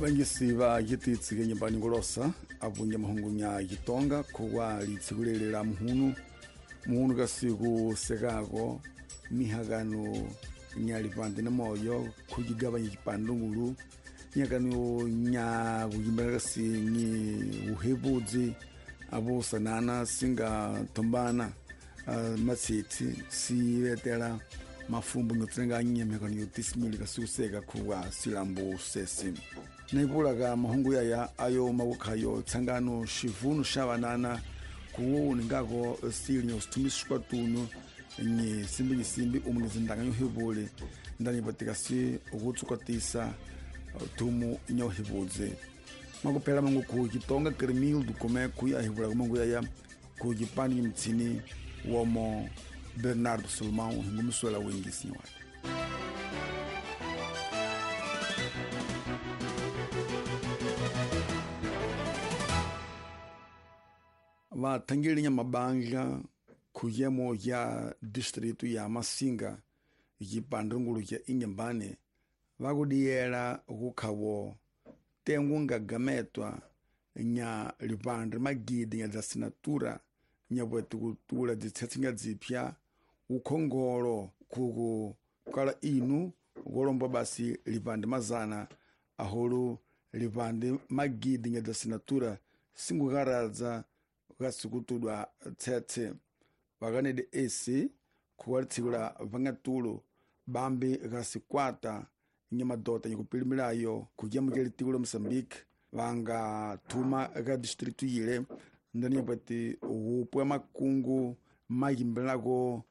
Vangisi va yititsi nyumbani ngolosa avunja mahungunya yitonga kuwa litsikulelela muhunu muhunu kasiku sekako mihakano nyalipande na moyo kujigabanya chipandungulu nyakano nya kujimbana kasi nyi uhebudzi abusanana singa tombana matsitsi sivetela mafumbu ngotsenga nyemekano yotisimili kasikuseka kuwa silambu sesi naipulaka mahungu yaya ayo mawukhayo tsangano xivunu xa vanana kuwu ningako sili nyosithumiswa tunu nyisimbi nyisimbi umu nizindanga nyohivuli ndanipatikasi ukutsukatisa thumu nyohivudzi makuphela mangu khu Chitonga Cremildo come kuya hivula kumangu yaya ku Chipani nyimtsini womo Bernardo Salomão hingumiswela wingisiwa. Vathangeli mabandla khuyemo ya distrito ya Masinga yipandungulu ya Inhambane vakudiyela kukhawo tengu ngagametwa nya lipandre magidi nya dzasinatura nya bwetukutula dzitsetsinga dzipya ukhongolo khuku kala inu golomba basi lipande mazana ahulu lipande magidi nya dzasinatura singukaradza kasikutudwa tsetse vakanede esi khuwalitsikula vangatulo bambi kasikwata nyamadota nyikupilimilayo kujamukela litiko la Moçambique vanga thuma ka distrito yile ndani wupwa makungu mayimbelako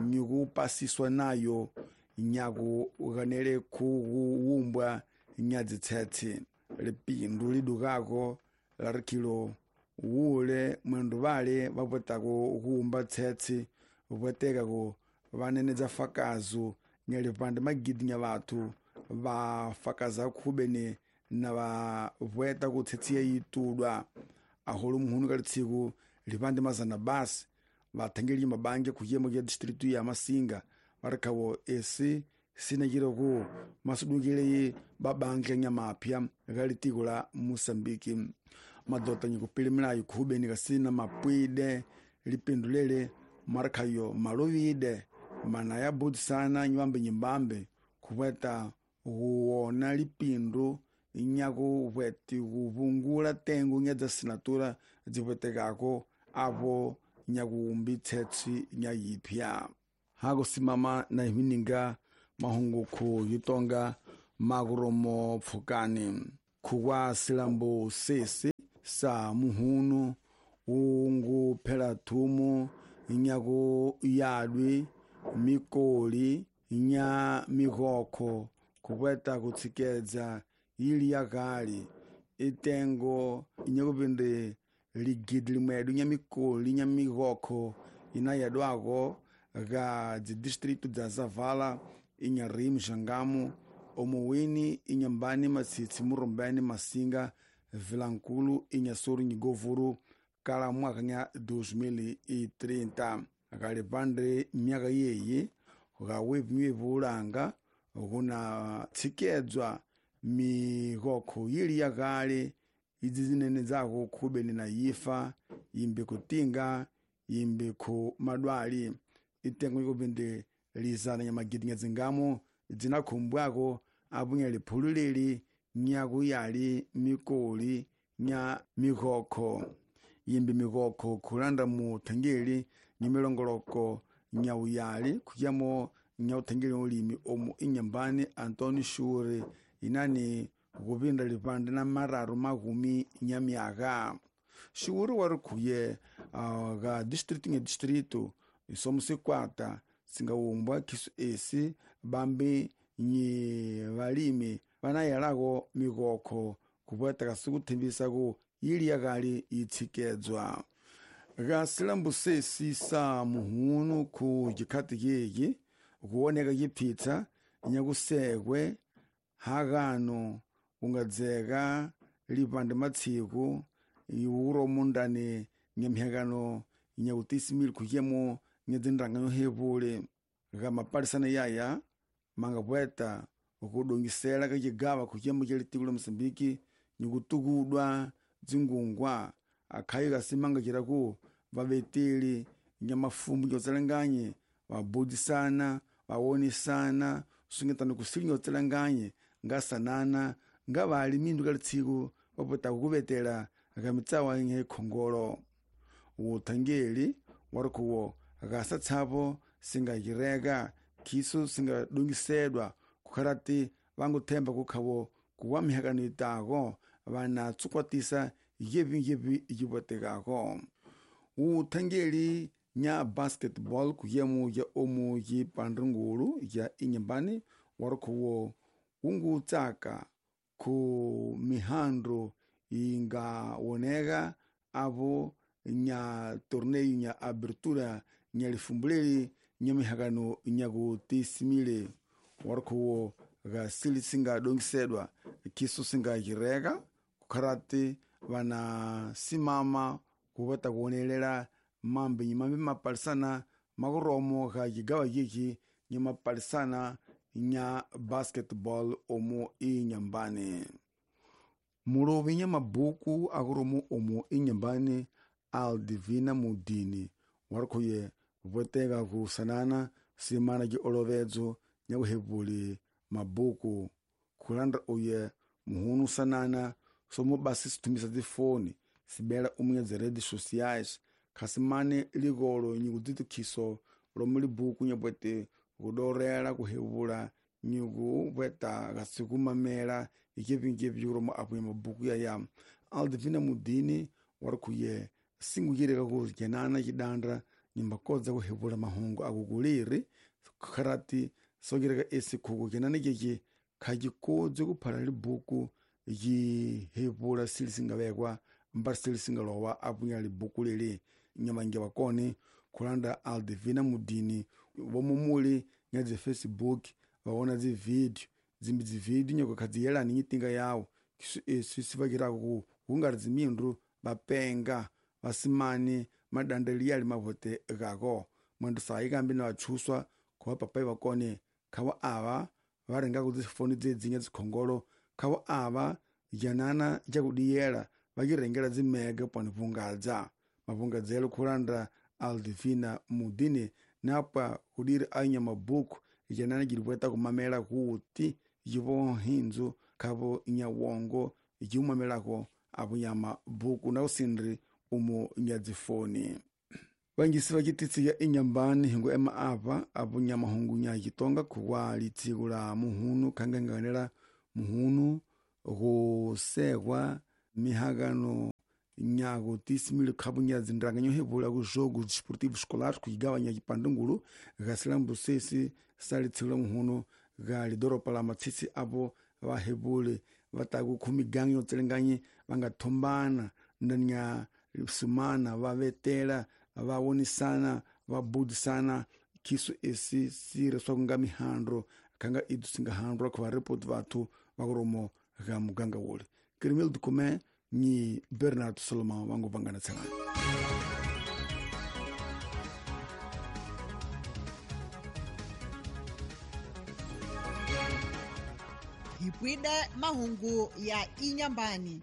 nyikupasiswa nayo nyaku kanele khuwumbwa nyadzitsetse lipindu lidukako larikhilo wule mwendu vale vapwetako kuwumba tsetse vupwetekako vanenedza fakazo nyalipande magidi nya vathu vafakaza khubene na vapweta kutsetsiya yitudwa ahulu muhunu kalitsiku lipande mazana basi vathangeli mabange khuyemo ya distrito ya Masinga varikhavo esi sinachiraku masudukile babangla nyamapya kalitiko la Moçambique madota nyikupilimilayo khubeni kasina mapwide lipindulele marikhayo malovide mana ya budzisana nyiwambe nyimbambe khupweta huwona lipindu nyaku pweti kuvungula tengu nya dzasinatura dzipwetekako apo nyakuwumbi tsetsi nya yipya hakusimama na himininga mahungu khu yitonga makuromo pfukani khuwa silambu sesi sa muhunu ungu phela thumu nyaku yadwi mikoli nya mikhokho kupweta kutsikedza ili yakali itengo inyakupindi ligidi limwedu nya mikoli nya mikhokho ina yadwako ga dzidistritu dza Zavala Inharim Jangamo Omuwini Inhambane Matsitsi Murumbene Masinga Vilankulu Inhassoro Nyigovuru kala mwaka nya 2030 akalipande myaka yeyi gawepimwe kuna tsikedzwa mikhokho yili yakale idzi zinene dzako khubeni na yifa yimbi kutinga yimbi khu madwali itengo ikupindi lizana nyamagidi nyadzingamo dzinakhumbwako apunya liphululeli nyakuyali mikoli nya mikhokho yimbi mikhokho khulanda mu thangeli nyimilongoloko nyauyali khuyamo nyauthangeli ulimi omu Inhambane Antônio Shure inani kupinda lipande na mararu makumi nyamyaka Shure wari khuye ga distrito nya distrito isomo sikwata singawumbwa khisu esi bambi nyi valimi vanayelako mikhokho kupweta kasikuthembisa ku yili yakali itsikedzwa ga silambu sesi sa muhunu khu jikhati yeki kuoneka yipfitsa nyakusekwe hakano kungadzeka lipande matsiku iwuro mundani nyamhyakano nyakutisimili khuyemo nyadzindanga yohevule ga mapalisana yaya mangapweta Kudongisela kacigava khuciyemo ca litiko la Moçambique nikutukudwa dzingungwa akhayi kasimanga ciraku vaveteli nyamafumbu nyotselanganye vabudisana vawonisana sungetano kusili nyotselanganye ngasanana ngavali mindu ka litsiko vapotaka kuvetela kamitsawa nye khongolo. Uthangeli warikhuwo gasa tshapo singacireka khiso singadongisedwa kukharati vanguthemba kukhavo kuwa mihakano itako vana tsukwatisa yevi yivotekako. Uthangeli nya basketball kuyemu ya omu yi pandrungulu ya inyambani warikhuwo wungutsaka ku mihandro ingawoneka apo nya torneio nya abertura nya lifumbuleli nya mihakano nyakutisimile warikhuwo gasili singadongisedwa khiso singacireka kukharati vanasimama kuvata kuwonelela mambe nyimambe mapalisana makuromo ga cigawa cici nya mapalisana nya basketball omu inyambani. Mulovi nya mabuku akuromo omu inyambani Aldivina Mudini warikhuye voteka kusanana simana ci olovedzo nya kuhevuli mabuku khulandra uye muhunu sanana somubasi sithumisa dzifoni sibela umunya dziredes sociais khasimane likolo nyikudzitikhiso lomu libuku nyapwete kudorela kuhevula nyikupweta kasikumamela ikepinkepi kuromo apuya mabuku yaya. Aldivina Mudini warikhuye singucireka kujenana cidandra nyimbakodza kuhevula mahungu akukuliri kharati sokireka esi khuku kenana ceci khacikodze kuphala libuku cihevula sili singavekwa mbari sili singalowa apunya libuku lili nyamange vakone khulanda Aldivina Mudini vomumuli nya dzi Facebook vawona dzivideo dzimbi dzivideo nyoko khadziyelani nyitinga yawo kisu esi sivakirako ku kungari dzimindru vapenga vasimani madandeli yali mavote kako mwandu sayi kambi na vatshuswa khuva papai vakone khavo ava varengako dzifoni dzedzinya dzikhongolo khavo ava janana cakudiyela vacirengela dzimega pwani vungadza mavungadzelo khulandra Aldivina Mudini napa kudiri anya mabuku janana cilipweta kumamela kuti civohindzu khavo nyawongo ciumamelako apo mabuku na usindri umu nyadzifoni. Vangisi va citisi ya inyambani hingu ema apa apo nyamahungu nya citonga khuwa litsiko la muhunu khanganganela muhunu kusekwa mihakano nyakutisimile khapu nya dzindraka nyohevula ku jogo desportivo escolar kucigawa nya cipandungulu gasilambu sesi sali tsiko la muhunu ga lidoropa la matsitsi apo vahevule vataku khumiganga yotselenganye vangathombana ndanya sumana vavetela vawonisana vabudisana khiso esi sire swa kunga mihandro khanga idu singahandrwa khuva report vathu vakuromo ga muganga wole Kirimil Dukume ni Bernardo Solomon vangu vangana tselana. Hipwide mahungu ya inyambani.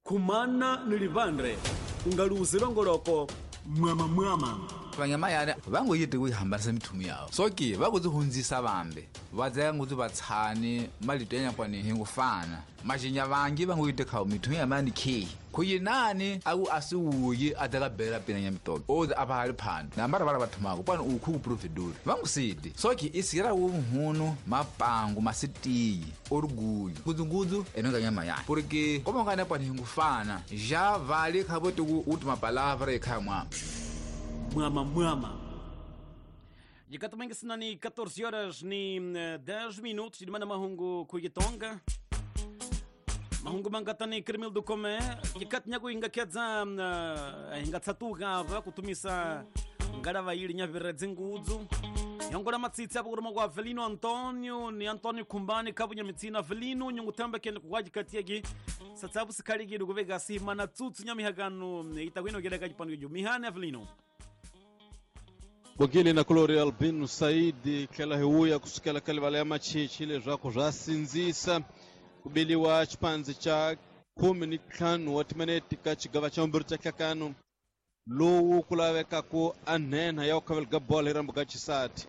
Kumana ni livandre ungaluze longoloko mwama mwama vanyama yana vangoyiti kuyihambanisa mithumu yawo soki vakudzihunzisa vambe vadzaya ngutsu vatshani malito ya nyakwani hingufana maxinya vangi vangoyiti khawu mithumu ya mani kheyi khuyinani aku asiwuyi adzaka bela pina nya mitoki ozi apha hali phando nambara vala vathumako pwani ukhu kuprovedori vangusiti soki isira wunhunu mapangu masitiyi orugulyu ngudzungudzu enonga nyama yani porque komongana pwani hingufana ja vale khavoti ku uti mapalavra ekhaya mwama mwama mwama. Jikatumengi ni 14 horas ni 10 minutos de mana mahungu kuyitonga mahungu mangatani krimil do come jikatnyaku ingakedza ingatsatuka va kutumisa ngalava ili nyavira dzingudzu Yongola matsitsi apo kuruma kwa Avelino Antonio ni Antonio Kumbani kabunya mitsina Avelino nyungutembe kende kukwaji katiegi satsabu sikali kuveka sima na tsutsu nyamihakano itakwino kele kachipano kijo mihane Avelino Bogile na Gloria Albino Saidi tlhela hi wuya kusukela ka livala ya machichi leswaku swa sindzisa ku beliwa xipandzi xa 15 wa timinete ka xigava xa vumbirhi xa nhlakano lowu ku lavekaku a nhenha ya ku khavela ka bolo hi rambo ka xisati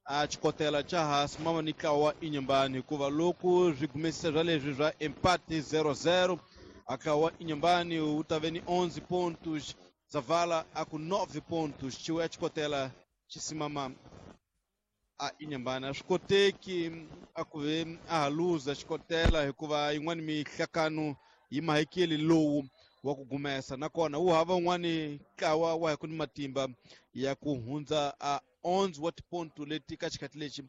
a xikotela xa hansi mama ni ntlawa wa Inhambane hikuva loko swi gumesisa swa leswi swa empate 0-0 a ntlawa wa Inhambane wu ta ve ni 11 pontos Zavala a ku 9 pontos xiwe xikotela xisimama a Inhambane a swi koteki a ku ve a ha luza xikotela hikuva yin'wani mihlakano yi mahekeli lowu wa ku gumesa nakona wu hava wun'wani ntlawa wa hi ku ni matimba ya ku hundza a 11 wa tiponto leti ka xikhathi lexi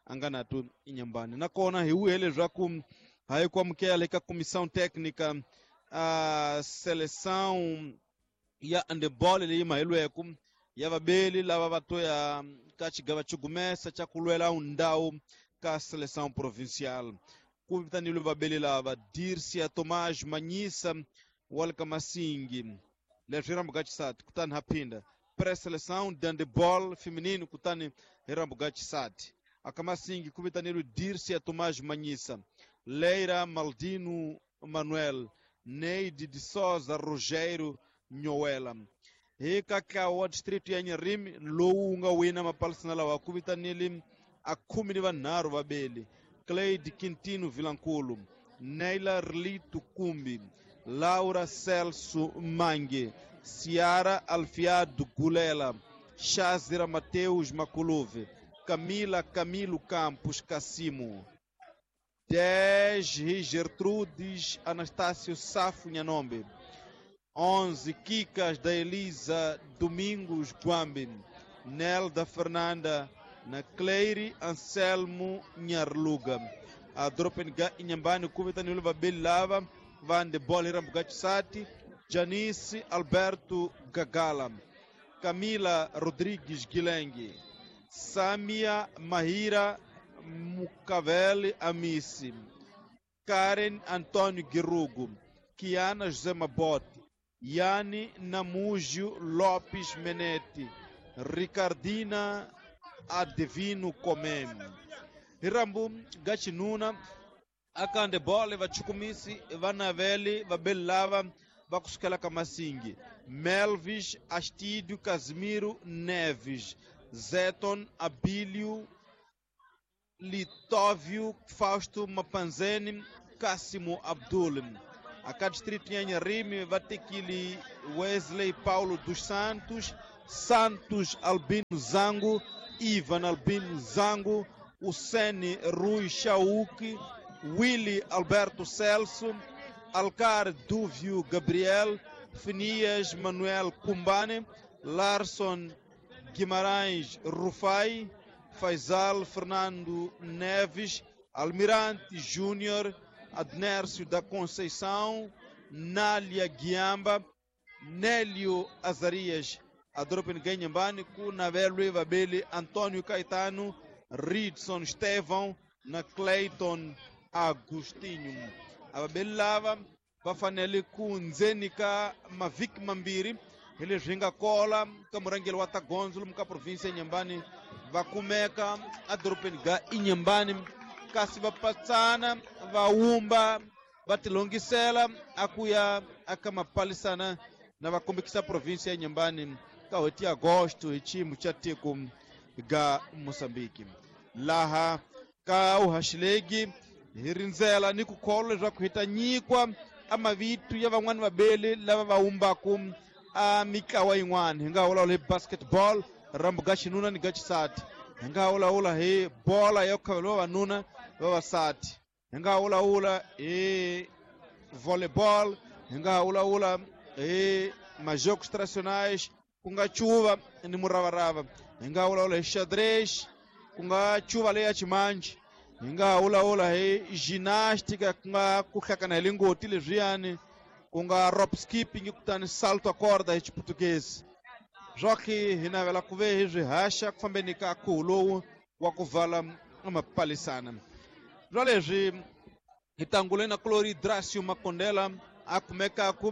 a nga na to Inhambane nakona hi wuhe leswaku hayi ku amukela eka comissão técnica a seleção ya handebol leyi maheliweke ya vabeli lava va to ya ka xigava xo gumesa xa ku lwela ndhawu ka seleção provincial ku vitanile vabeli lava Dircia Tomás Manyisa wa le ka Masingi leswi hi rambo xisati kutani ha phinda pré-seleção de handebol feminino kutani hi rambo xisati aka Masingi ku vitanile Dircia Tomás Manyisa Leira Maldino Manuel Neide de Souza Rogério Nhoela hi ka ntlawa wa district ya Nyarimi lowu wu nga wina mapalisana lawa ku vitanile a 13 vabeli Cleide Quintino Vilankulu Neila Relito Kumbi Laura Celso Mangue Ciara Alfiado Gulela Chazira Mateus Maculuve Camila Camilo Campos Cassimo 10 Gertrudes Anastácio Safo Nhanombe 11 Kikas da Elisa Domingos Guambi Nelda Fernanda na Cleire Anselmo Nharluga a Dropenga Inhambane kuvitanile vabeli lava va handebol hi rambo xisati Janice Alberto Gagala Camila Rodrigues Guilenge Samia Mahira Mukavele Amisi Karen Antônio Guirugo Kiana José Mabote Yani Namúgio Lopes Menete Ricardina Adevino Comem Hirambu Gachinuna aka handebol vachukumisi vanaveli vabeli lava va kusukela ka Masingi Melvis Astídio Casimiro Neves Zeton Abílio Litóvio Fausto Mapanzeni Cássimo Abdul aka distrito ya Nharime va tekile Wesley Paulo dos Santos Santos Albino Zango Ivan Albino Zango Usene Rui Chauque Willy Alberto Celso Alcar Dúvio Gabriel Finias Manuel Kumbane Larson Guimarães Rufai Faisal Fernando Neves Almirante Júnior Adnércio da Conceição Nália Guiamba Nélio Azarias Adropen Ganhambane ku Navelo Vabeli Antônio Caetano Ridson Estevão na Clayton Agostinho avabeli lava va fanele ku ndzeni ka mavhiki mambirhi hi leswi hi nga kola ka murhangeri wa tagondzo lomu ka provinsi ya Inhambane va kumeka edorobeni ga Inhambane kasi va patsana va wumba va tilongisela a ku ya aka mapalisana na va kombekisa provinsi ya Inhambane ka n'hweti ya agosto hi xiyimo xa tiko ga Mozambique laha ka uhaxilegi hi rindzela ni ku kholwa leswaku hi ta nyikwa a mavito ya van'wani vabeli lava va wumbaku a mitlawa yin'wana hi nga vulavula hi basketball rambo ga xinuna ni ga xisati hi nga vulavula hi bola ya ku khavela vavanuna vavasati hi nga vulavula hi volleyball hi nga vulavula hi majogos tradicionais ku nga cuva ni muravarava hi nga vulavula hi xadrez ku nga cuva leya ximanji hi nga vulavula hi ginástica ku nga ku hlakana hi lingoti leswiyani ku nga rope skipping kutani salto a corda hi xiputukezi swa ki hi navela ku ve hi swi haxa ku fambeni ka khuhu lowu. wa kuvala mapalisana lwa leswi hi tangule na kulori Dracio Makondela akumekaku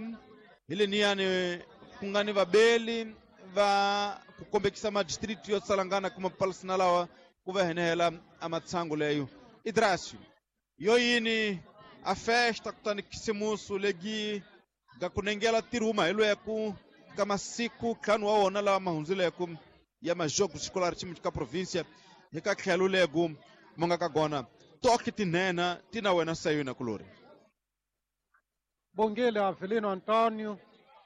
hi leniyani ku nga ni vabeli va ku kombekisa madistrict yo tsalangana kuma mapalisana lawa ku va henehela a matshangu leyo Idracio yo yini a festa kutani khisimusu legi ga kunengela tirhuma hi lweku ka masiku ntlhanu wa wona lawa ma hundzileko ya majogo escolar xiyimo ka província hi ka tlhelo legu mo nga ka gona toke tinhena ti na wena sayona kulori Bongile Avelino Antonio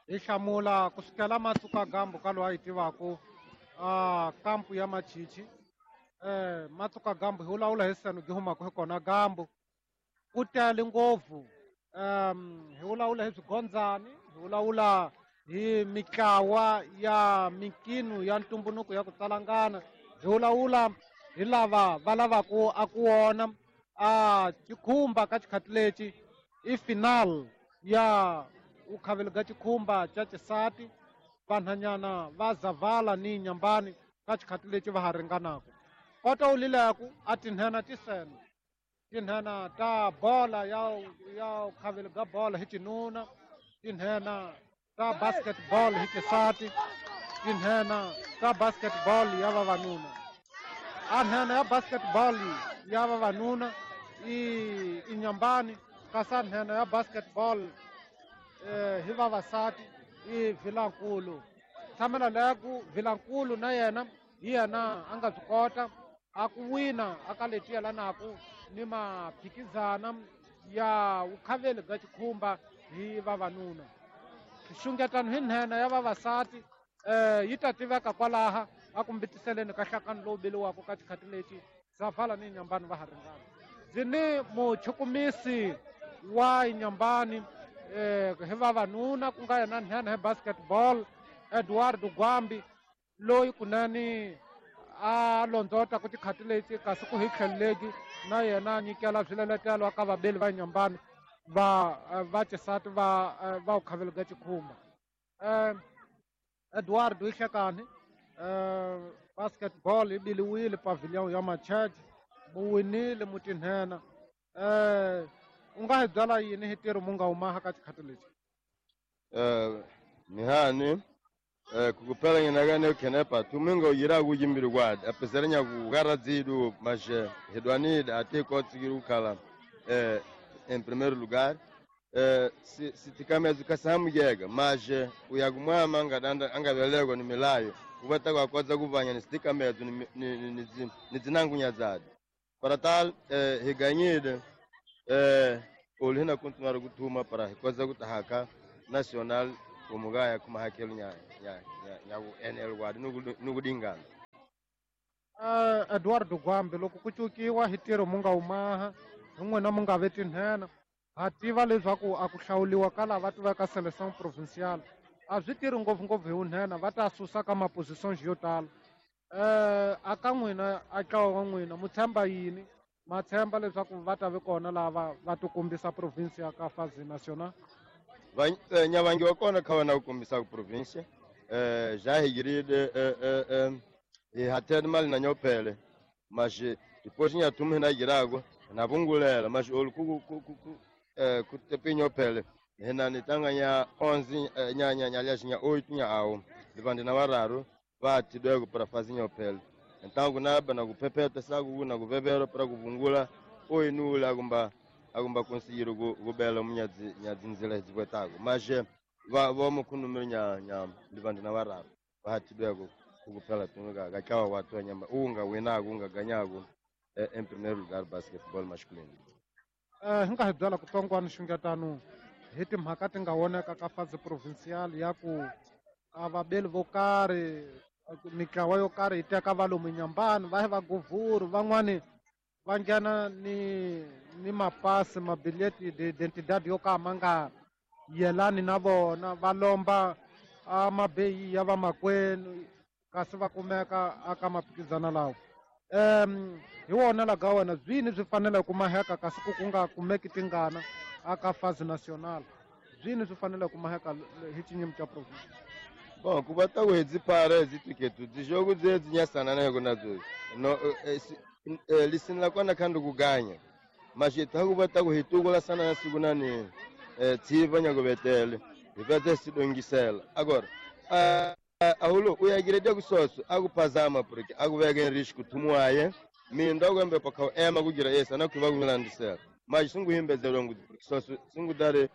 hi hlamula ku sukela Matsuka Gambu ka loyi a yi tivaku kampu ya Machichi Matsuka Gambu hi vulavula hi seno gi humaka hi kona Gambu ku tele ngopfu hi vulavula hi swigondzani hi vulavula hi mitlawa ya minkino ya ntumbuluko ya ku tsalangana hi vulavula hi lava va lavaku a ku wona a xikhumba ka xikhati lexi i final ya ukhavelo ga xikhumba xa xisati vanhanyana va Zavala ni Nyambani ka xikhati lexi va ha ringanaku kota u lileku a tinhena ti seno tinhena ta bola ya ukhavelo ga bola hi xinuna tinhena ta basketball hi xisati tinhena ta basketball ya vavanuna a nhenha ya basketball ya vavanuna i Nyambani kasi a nhenha ya basketball hi vavasati i Vilankulu tshamela leku Vilankulu na yena hi yena a nga swi kota a ku wina a ka leti yelanaku ni maphikizana ya vukhaveli bya xikhumba hi vavanuna xungetano hi nhenha ya vavasati yi ta tiveka kwalaha a ku mbitiseleni ka nhlakano lowu beliwaka ka xikhati lexi Zavala ni Nyambani va ha ringana ndzi ni muchukumisi wa Nyambani hi vavanuna ku nga yena nhenha hi basketball Eduardo Gwambi loyi kunene a londzota ku tikhati leti kasi ku hi tlhelo na yena a nyikela swileletelo ka vabeli va Nyambani va xisati va vukhavelo bya xikhumba Eduardo hi hlekani basketball yi biliwile pavilion ya Machurch mu winile mu tinhena u nga hi byala yini hi ntirho mu nga humaha ka xikhati lexi nihani kukupela nginakane khenepa tuminga uyira kuyimbiri kwadi apesera nyakukara dzidu mashe hidwanide ate kotsikiri kukhala em primeiro lugar sitikamedzi kasamuyeka mashe uyakumwama angavelekwa ni milayo kuvata kwakodza kuvanya ni sitikamedzo ni dzinangunya dzadi para tal higanyide olu hina kuntunara kuthuma para hikodza kutahaka national umugaya kumahakelo nya nyaku NL kwadi nukudingana Eduardo Gwambi loko ku cukiwa hi ntirho mu nga humaha hi n'wina mu nga ve tinhena ha tiva leswaku a ku hlawuliwa ka lava tiveka selection provincial a swi tirhi ngopfungopfu hi vunhena va ta susa ka mapositions yo tala a ka n'wina a ntlawa wa n'wina mu tshemba yini ma tshemba leswaku va ta vi kona lava va tikombisa province ya ka fazi national nyavangi wa kona kha va na ku kombisa ku province ja higiride hi hatheni mali na nyophele mas depois nyathuma hina girako na vungulela mas olu ku tepi nyophele hina ni tanga nya 11 nya nya nya nya 8 nya awo livandi na vararu va tidweko para fazi nyophele então kunaba na kuphephetha saku na kuvevero para kuvungula oyinula akumba conseguir kubela munyadzi nyadzinzela hidzikwetako mas va vomukhunumire nya nya livandi na vararu va tidweko ukuphela tunuka kachawa watu nyamba unga winako unga ganyako em primeiro lugar basketball masculino hi nga hi byela ku tsongwana xungetano hi timhaka ti nga voneka ka fazi provincial ya ku a vabeli vo karhi mitlawa yo karhi yi teka va lomu Nyambani va hi va guvhuru van'wani va nghena ni mapasi mabileti d'identidade yo ka ma nga yelani na vona va lomba a mabeyi ya vamakwenu kasi va kumeka aka maphikizana lawa hi wona laga wena byini swi fanele ku maheka kasi ku nga kumeki tingana aka fazi national byini swi fanele ku maheka hi xinyimi xa province Bom, kubata kuhedzipara dzitiketu dzijogo dzedzinyasana nayo nadzo no lisinila kwana khandu kuganya mashita hakubata kuhitukula sana na siku nani tsiva nyakuvetele hipedze sidongisela agora ahulo uyagiredia kusoso akuphazama porque akuveka enrisco thumuaye minda akuembe pakhau ema kugira esi anakhuva kumilandisela mas singuhimbezelwa nguti porque soso singudare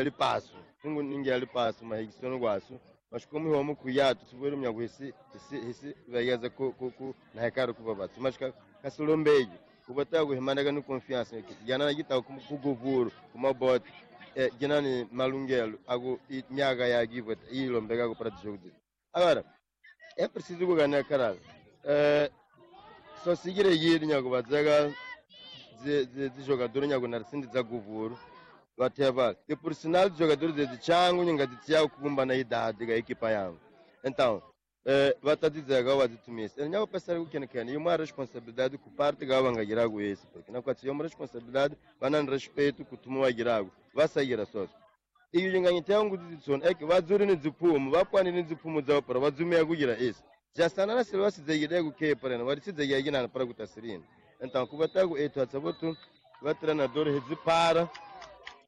lipaso singuningia lipaso mahikisono kwaso mas como homo kuyatu sivori mnyaku hisi hisi hisi vayeza ku ku ku na hekari kuva vatsu mas kasilombeji kubataka kuhimaneka ni confiança jana nakita kuguvuru kumaboti jinani malungelo aku miaka yakivo ilombekako para dijogo agora é preciso kuganha caralho só seguir yiri nyaku vadzeka dzijogador nyaku narisindi dza guvuru vatheva e por sinal jogadores de changu nyinga kukumba na idade ga equipa yangu então vatatidzeka vadzitumisa ene nyakupesera kukenekene imwe a responsabilidade ku parte ga vangagiraku esse porque nakwatsi yomwe responsabilidade vanani respeito kutuma vagiraku vasagira soso iyo yinganyita yangu dzidzitsona eke vadzuri ni dziphumu vapwani ni dziphumu dzavo para vadzumiya kugira esse jasana na sele vasidzekile kukhepa rena varisidzekea kinana para kutasirini então kuvataku ethu atsavotu vatrenador hidzipara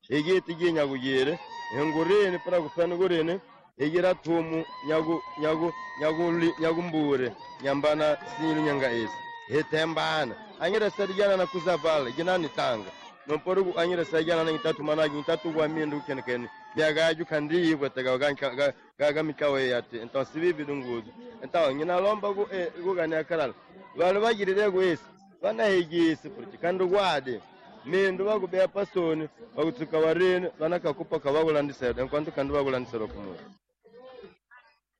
higiti ginyakugire hingurini para kufana kurini higira thumu nyaku nyaku nyakuli nyakumbure nyambana silu nyanga esi hithembana angira sarijana na kuzavala ginani tanga nompori angira sarijana na ngitatu managi ngitatu kwa mindu kenkene byagaju kandi ibweteka gaga mikawe yati então sibibi dunguzu então nginalomba ku kugania karala vanhu vagirire ku esi vanahigisi porque kandi kwade mindu vakubeya pasoni vakutsuka varini vanakakupa kavakulandisela enquanto kandi vakulandisela kumunu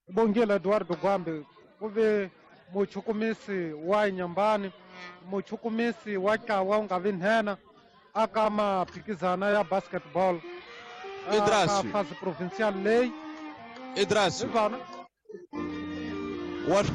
Bongile Eduardo Gwambe ku ve muchukumisi wa Inhambane muchukumisi wa ntlawa wu nga vi nhenha aka maphikizana ya basketball Idrasio. aka fase provincial leyi Idrasio Ivana wa swi